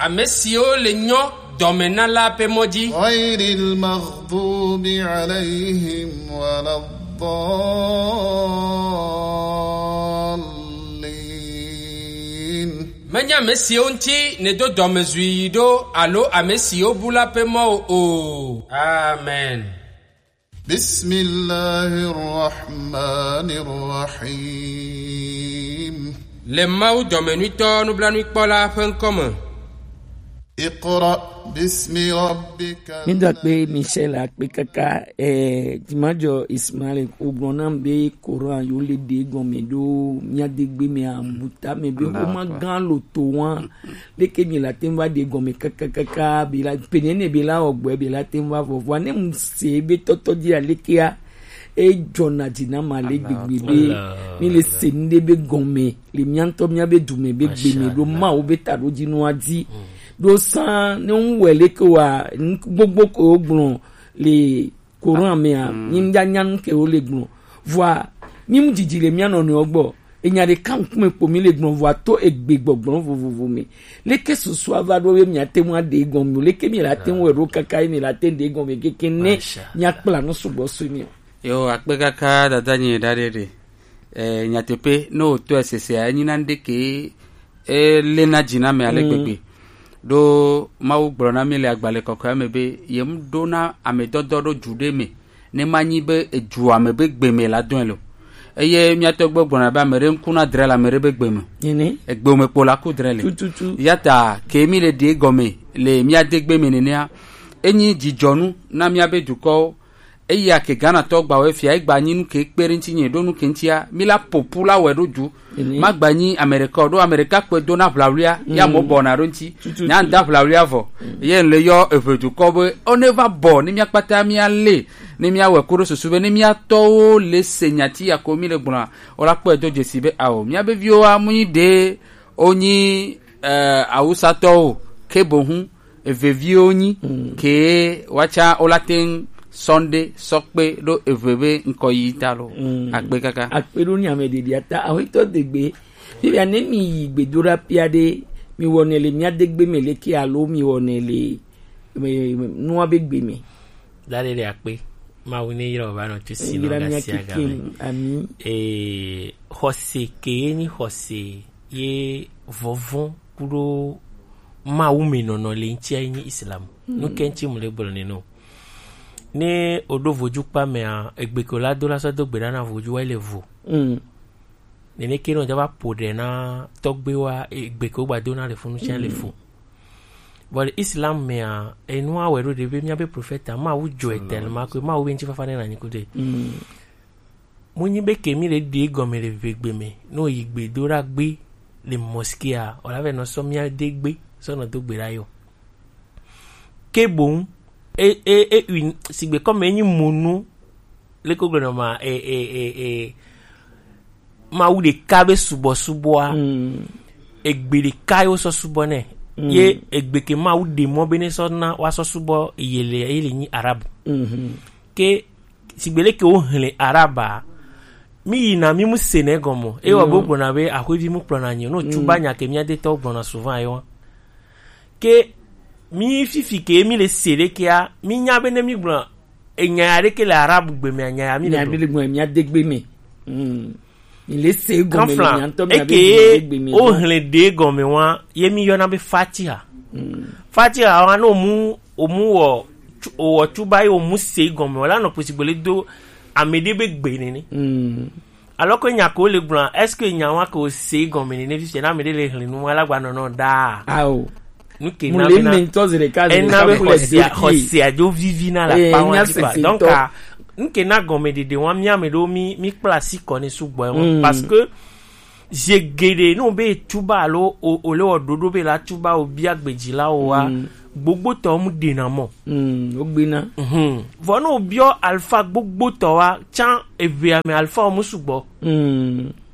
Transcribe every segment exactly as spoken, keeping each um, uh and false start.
Ame siwo le nyɔ dɔme na la ƒe mɔ dzi. غير المغضوب عليهم ولا الضالين. Menye ame siwo ŋuti nèdo dɔmezui yi ɖo alo ame siwo bu la ƒe mɔ o. Amen. بسم الله الرحمن الرحيم. Le Mawu dɔmenuitɔ nublanuikpɔla ƒe ŋkɔ me. اقرأ باسم ربك. Mi da kpe Michel akpe kaka, eh, Jimajɔ Ismail, o gblɔ nam be Coran yo le ɖe gɔme ɖo mía de gbe me abuta me be o ma gan lo to wa. Leke mi la tem va ɖe gɔme kakakaka, be la, penene be la ɔgbɛ, be la tem va vɔvɔ. Ne mu se be tɔtɔ di alekea, e jɔna dzi na ma le gbegbe be, mi le se nu ɖe be gɔme, le mía ŋutɔ mía be du me be gbe me ɖo Mawu be ta ɖo dzi nua dzi. Ɖo san ne ŋu wɛ leke wa, nu gbogbo ko wo gblɔ le Coran mea, mi ŋdza nya nu ke wo le gblɔ. Vɔa, mi mu dzidzi le mía nɔnɔewo gbɔ. Enya ɖeka ŋkume kpo mi le gblɔ vɔa to egbe gbɔgblɔ vovovo me. Leke susu ava ɖo be mia te ŋu aɖe gɔme o? Leke mi la te ŋu wɛ ɖo kaka ye mi la te ŋu ɖe gɔme keke ne mia kpla nu sugbɔ su mi o? Yo, akpe kaka dada nyi da ɖe ɖe. Eh, nyateƒe, ne wòtɔe sesea, enyi na ŋɖe ke elena dzi na ame ale gbegbe. Ɖo Mawu gblɔ na mí le agbalẽ kɔkɔea me be, yem ɖo na amedɔdɔ ɖo du ɖe me, ne manyi be edu ame be gbe me la dɔe lo. Eye mía tɔgbuiwo gblɔna be ame ɖe ŋku na dre le ame ɖe be gbe me. Nene. Egbe me kpo la ku dre le. Tututu. Eya ta ke mí le ɖe gɔme le mía de gbe me nenea, enyi dzidzɔnu na mía be dukɔwo. Eya ke Ghana tɔ gba wɛ fia, egba nyi nu ke kpe ɖe ŋuti nye ɖo nu ke ŋutia, mi la popu la wɛ ɖo du. Magba nyi Amerika o, ɖo Amerika kpe do na ʋlawlia, ya mo bɔna ɖo ŋuti. Nya ŋda ʋlawlia vɔ. Ye le yɔ eʋe dukɔ be, o ne va bɔ, ne mia kpata mia le, ne mia wɛ ko ɖo susu be, ne mia tɔwo le se nyati ya ko mi le gblɔa, o la kpɔe do dzesi be, ao, mia be viwo wa mu nyi ɖe, o nyi, eh, awusatɔwo, ke bohu, eveviwo nyi ke woatsa wola te ŋu Sunday sɔkpe ɖo eve be ŋkɔ yi ta lo. Akpe kaka. Akpe ɖo ni ame ɖeɖi ata awetɔ degbe. Fifia ne mi yi gbedoɖa pia ɖe, mi wɔnɛ le mia degbe me leke alo mi wɔnɛ le, me, me, nua be gbe me? Da ɖe ɖe akpe. Mawu ne yra o va nɔ tu si nɔ ga sia ga me. Ami. Ee, xɔse ke ye nyi xɔse ye vɔvɔn kuɖo Mawu me nɔnɔ le ŋutia ye nyi Islam. Nu ke ŋuti mu le gblɔ ne no. Ne o ɖo vodu kpa mea, egbe ke o la do la sɔ do gbe ɖa na vodu wa le vo. Nene ke nɔ dza va po ɖe na tɔgbe wa, egbe ke o gba do na le funu tia le fo. Vɔ le Islam mea, enua wɛ ɖo ɖe be mia be prophète Mawu dzɔe tellement que Mawu be ŋuti fafa ne na nyi kudo. Mu nyi be ke mi le ɖe gɔme le vegbe me, no yi gbe do ɖa gbe le mosquée a, o la vɛ nɔ sɔ mia de gbe sɔ nɔ do gbe ɖa yɔ. Ke boŋ, e, e, e, ui, sigbe kɔme enyi monu, le ko gblɔ nɔ ma, e, e, e, e, Mawu ɖeka be subɔsubɔa, egbe ɖeka ye wosɔ subɔ nɛ. Ye egbe ke Mawu ɖe mɔ be ne sɔ na woasɔ subɔ ye le, ye le nyi Arabe. Ke sigbe leke wo hlẽ Arabea, mi yina mi mu se nɛ gɔme. Ewɔ be wogblɔna be ahwevi mu kplɔna nyi o. No tsuba nya ke mia detɔwo gblɔna souvent ye wa. Ke mi fifi ke mi le se ɖekea, mi nya be ne mi gblɔ enya ya ɖeke le Arabe gbe mea, nya ya mi le gblɔ. Mia de gbe me. Mi le se gɔme le mia ŋutɔ mia be gbe me. Eke o hlẽ ɖe gɔme wa, ye mi yɔna be Fatiha. Fatiha wa no mu, o mu wɔ, tsu-, o wɔ tsuba ye o mu se gɔme, o la nɔ kpesi gbele do ame ɖe be gbe nene. Alors que nya ko le gblɔ, est-ce que nya wa ko se gɔme nene fi se na ame ɖe le hlẽ nu wa la gba nɔnɔ da? Ao. Nu ke na bena ena be xɔsia, xɔsia dzo vivi na la pa wa dzi pa. Donc, a, nu ke na gɔme ɖeɖe wa mi ame ɖewo mi, mi kpla asi kɔ ne sugbɔ wa. Parce que zi geɖe, ne wobe tuba alo o, o le wɔ ɖoɖo be la tuba o bia gbedzilawo wa, gbogbotɔ mu ɖena mɔ. Wogbena. Vɔ ne wobiɔ alifa gbogbotɔ wa, tsã eʋea me alifa wo mu sugbɔ.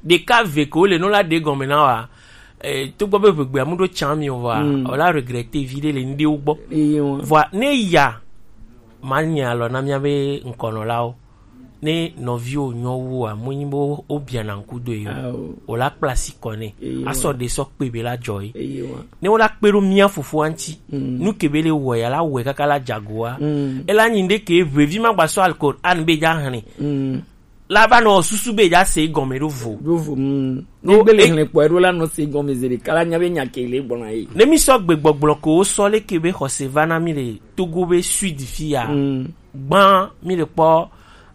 Ɖeka ve ko le no la ɖe gɔme na wa, eh, togbɔ be ʋegbea mu ɖo tsã mi o wa, o la regretter vi ɖe le nu ɖewo gbɔ. Vɔa ne ya, ma nye alɔ na mia be ŋkɔnɔlawo. Ne nɔviwo nyɔ wu a, mu nyi bo wo biana ŋku do ye o. Ao. O la kpla si kɔ ne. Eye wa. Asɔ de sɔ kpe be la jɔ ye. Eye wa. Ne wo la kpe ɖo mia fofo anti. Mm. Nu ke be le wɔ ya la wɔ kaka la jago wa. Mm. E la nyi nde ke vevi ma gba sɔ Alquran be ja hane. Mm. La va nɔ susu be ja se gɔme ɖo vo. Ɖo vo. Mm. Ɖo Ne gbe le e- hlẽ kpɔ ɖo la nɔ se gɔme ze ɖeka la nya be nya ke le gbɔna ye. Ne mi sɔ gbe gbɔgblɔ ko wo sɔ le ke be xɔse va na mi le Togo be sud fi ya. Mm. Gbã mi le kpɔ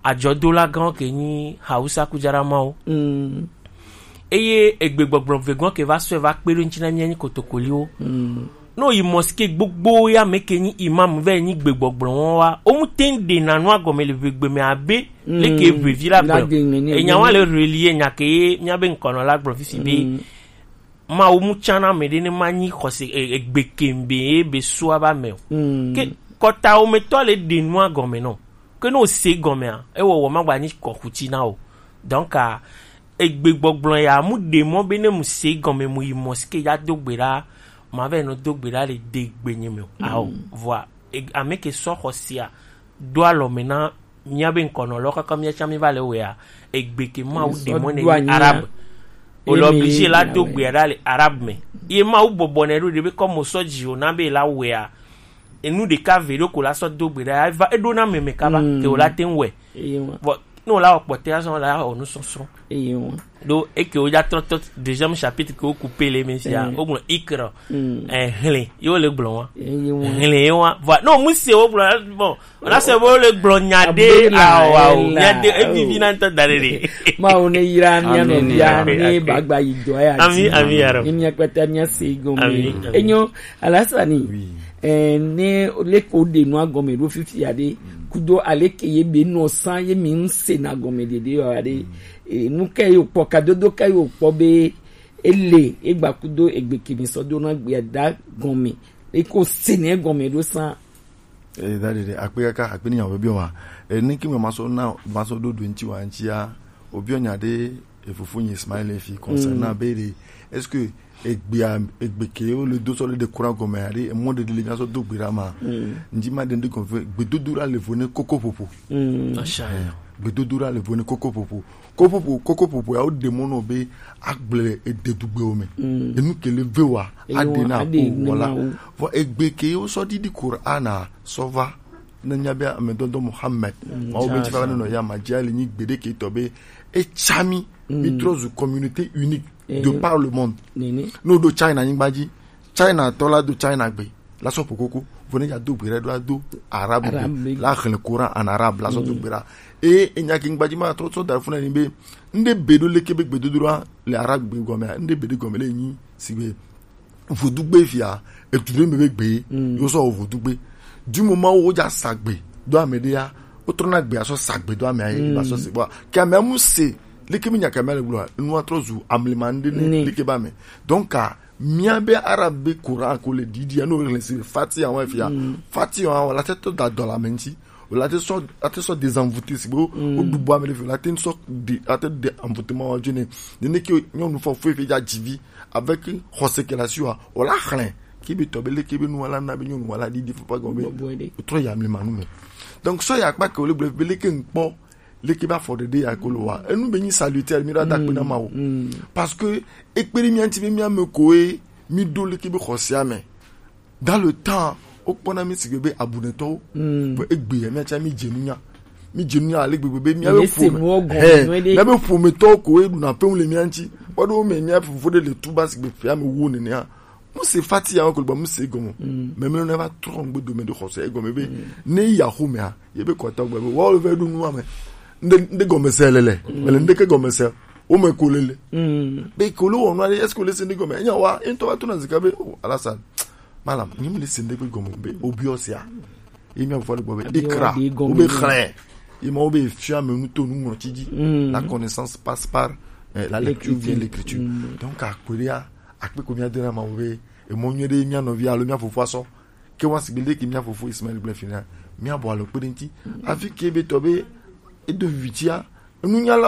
adzɔdola gã ke nyi Hausa kujaramawo. Mm. Eye egbe gbɔgblɔ vegɔn ke va sɔe va kpe ɖo ŋuti na mía nyi kotokoliwo. Mm. Ne woyi mosquée gbogbo ya me ke nyi imam vɛ nyi gbe gbɔgblɔ wɔn wa, wo mu te ŋ ɖe na nua gɔme le ʋegbe me abe Mm. leke ʋevi la La gblɔ. Gbe me ne Enya wa le relier nya ke ye mía be ŋkɔnɔ la gblɔ fifi be Mm. Mawu mu tsã na ame ɖe ne ma nyi xɔse e- egbe kembe ye be sua ba me o. Mm. Ke kɔtawo me tɔ le ɖe nua gɔme nɔ. Ke ne o se gɔmea, ewɔwɔ ma gba nyi kɔkuti na o. Donc a egbe gbɔgblɔ ya mu ɖe mɔ be ne mu se gɔme mu yi mosquée ya do gbe ɖa, ma vɛ nɔ do gbe ɖa le de gbe nye me o. Ao, vɔa e- ame ke sɔ xɔsia do alɔ me na mía be ŋkɔnɔ lɔ kaka mía tsã mi va le wea, egbe ke Mawu ɖe mɔ ne nyi arabe. O le obligé la do gbe ɖa le arabe me. Ye Mawu bɔbɔ ne ɖo ɖe be kɔ mo sɔ dzi o na be la wea. Enu ɖeka ve ɖo ko la sɔ do gbe ɖa eva eɖo na meme kaba ke o la te ŋ wɛ. Eye wa. Vɔ ne o la wɔ kpɔtɛ azɔ la wɔ nu sɔsrɔ̃. Eye wa. Ɖo eke wo dza trɔ tɔ deuxième chapitre ke wo ku pe le me sia. Eye. Wo gblɔ ikra. Mm. Eh, hlẽ. Ye wo le gblɔ wa. Eye wa. Hlẽ ye wa. Vɔ ne o mu se wo gblɔ bon. O la se wo le gblɔ nya ɖe Abdullah, awo awo. Ella. Nya ɖe evivi na ŋutɔ da ɖe ɖe. Mawu ne yra mía Amen. Nɔvia ne Amen. Bagba yi dɔ ya. Ami ami yaro. Ni mía kpata mía se gɔme. Ami, ami. Enyo Alasani. Oui. Eh, ne leke wo ɖe nua gɔme ɖo fifia ɖe kudo aleke ye be nɔ san ye mi ŋ se na gɔme ɖeɖe yɔ ɖe. Eh, nu ka ye kpɔ kadodo ka ye kpɔ be ele egba kudo egbe kemi sɔ do na gbea da gɔme eko se ne gɔme ɖo san. Eh, da ɖeɖe akpe kaka akpe ni nya wo be biɔ ma. Eh, ne ki me ma sɔ na ma sɔ do do ŋti wa ŋtia. Obiɔ nya ɖe e fofo nyi Ismail fi concernant Mm. be ɖe est-ce que egbea egbe ke wo le do sɔ le ɖe kura gɔme aɖe emɔ ɖeɖe le mía sɔ do gbe ɖa ma. Mm. Ŋdi ma ɖe ŋdi gɔme fe gbedodo ɖa le vo ne koko ƒoƒo. Mm. Masha Allah. Gbedodo ɖa le vo ne koko ƒoƒo. Koko ƒoƒo koko ƒoƒo ya wo ɖe mɔ nɔ be agble ede dugbewo me. Mm. Enu ke le ve wa Eye aɖe wo na aɖe ko ne wala. Mawu. Vɔ egbe ke wo sɔ ɖiɖi Qur'ana sɔ va ne mía be amedɔdɔ Muhammad. Mm. Mawu be ŋti fa ne nɔ ya ma dzi ali nyi gbeɖe ke tɔ be etsa mi mi trɔ zu communauté unique de par le monde. Nene. Ne o ɖo China nyigba dzi, China tɔ la do China gbe la sɔ ƒo koko, vo ne ya do gbe ɖe ɖo ado arabe Arabe. La xlẽ Coran en arabe la sɔ do gbe ɖa. Eye enya ke nyigba dzi ma tɔ sɔ da funa ni be ŋɖe be ɖo leke be gbedodo ɖa le arabe gbe gɔmea, ŋɖe be ɖe gɔme le nyi si be vodugbe fia etu ɖe me be gbe yo sɔ wɔ vodugbe. Du moment wo dza sa gbe do ame ɖe ya, wo trɔna gbe asɔ sa gbe do ame ayi ba sɔ se bɔ ke ame amu se leke mi nya ke ame le gblɔ nua trɔ zu amlima ŋɖe ne Ni. Leke ba me. Donc a mia be arabe be Coran ko le didi ya no le se fati awon fia fati awon la te to da dɔ la me ŋti. O la te sɔ la te sɔ désenvoûté si bo o du bo ame le fi la te sɔ de la te de envoûtement wa jone. Ne ne ke nyɔnu fɔ fo fi dza dzi vi avec xɔse ke la si wa o la xlẽ ke be tɔ be leke be nu wa la na be nyɔnu wa la didi fo pa gɔme. Bɔbɔe ɖe. O trɔ ya mi manu me. Donc sɔ ya kpa ke o le gblɔ be leke ŋkpɔ leke ba fɔ ɖeɖe ya ko lo wa enu be nyi salutaire mi ɖo da kpe na Mawu. Parce que ekpe ɖe mia ŋti be mia me koe mi ɖo leke be xɔsea me. Dans le temps, wokpɔna mi sigbe be abunɛtɔwo. Vɔ egbe ya miatsa mi dze nunya. Mi dze nunya ale gbegbe be miabe ƒome. Hɛ, miabe ƒometɔwo ko ye ɖuna ƒewu le mia ŋti. Kpɔ ɖe wo me mia fofo ɖe le tuba sigbe ƒea me wo nenea. Mu se fati ya wo ko gba mu se gɔme. Mɛmlɛ ne va trɔ ŋgbe dome ɖe xɔse egɔme be ne ya xomea ye be kɔtɔ gbe be wo le va ɖo nua me. Nde nde gɔme se le le. Ele nde ke gɔme se. Wo me ko le le. Be ko le wɔ nua ɖe est-ce que le se nde gɔme? Enya wa, ento va to na zika be, oh, Alassane. Malam, nyi mu le se nde gbe gɔme be, obiɔ sia. Ye mia fɔ le gbɔ be, ikra, wo be xlẽ. Ye ma wo be fia me nu to nu ŋlɔ tsi dzi. La connaissance passe par eh, la lecture vient l'écriture. Donc, akpe ɖea, akpe ko mia dena ma wo be, emɔ nyuie ɖe mia nɔvi alo mia fofo asɔ. Ke wa sigbe le ke mia fofo Ismaël gblẽ fina, mia bɔ alo kpe ɖe ŋti. Afi ke be tɔ be, edo vivitia, enunyala